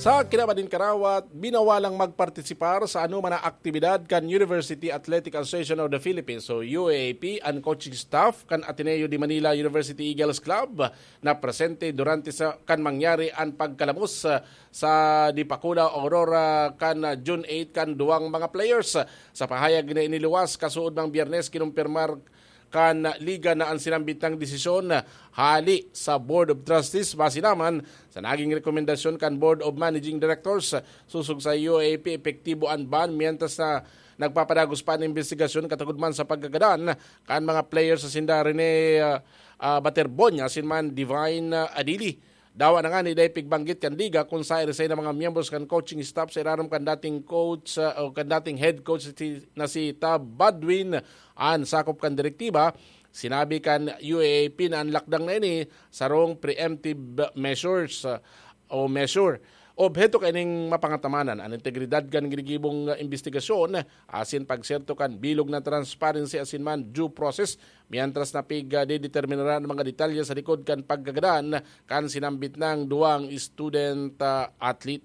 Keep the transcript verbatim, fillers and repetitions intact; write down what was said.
Sa kinaban nin karawat, binawalang magpartisipar sa anoman na aktibidad kan University Athletic Association of the Philippines o U A A P an coaching staff kan Ateneo de Manila University Eagles Club na presente durante sa kan mangyari an pagkalamos, ah, sa Dipakula, Aurora kan, ah, June eight kan duwang mga players. Sa pahayag na iniluwas kasuodmang Biyernes, kinumpirmar kan liga na an sinambit nang desisyon hali sa Board of Trustees base naman sa naging rekomendasyon kan Board of Managing Directors. Sosog sa U A P, epektibo an ban mientras na nagpapadagos pa an imbestigasyon katagod man sa pagkagadan kan mga players sa sinda Rene, ah, ah, Baterbonya asin man Divine, ah, Adili. Dawa na ngani dai pigbanggit kan liga kun sa irisay na mga miyembros kan coaching staff sa irarom kan dating coach, ah, o kan dating head coach si, na si Tab Badwin, an sakop kan direktiba. Sinabi kan U A A P na an lakdang na ini sarong preemptive measures, ah, o measure. Obheto kaining mapangatamanan an integridad kan ginigibong, ah, imbestigasyon asin pagserto kan bilog na transparency asin man due process, mientras na pig, ah, dideterminaran an mga detalye sa likod kan pagkagadan kan sinambit nang duwang student, ah, athlete.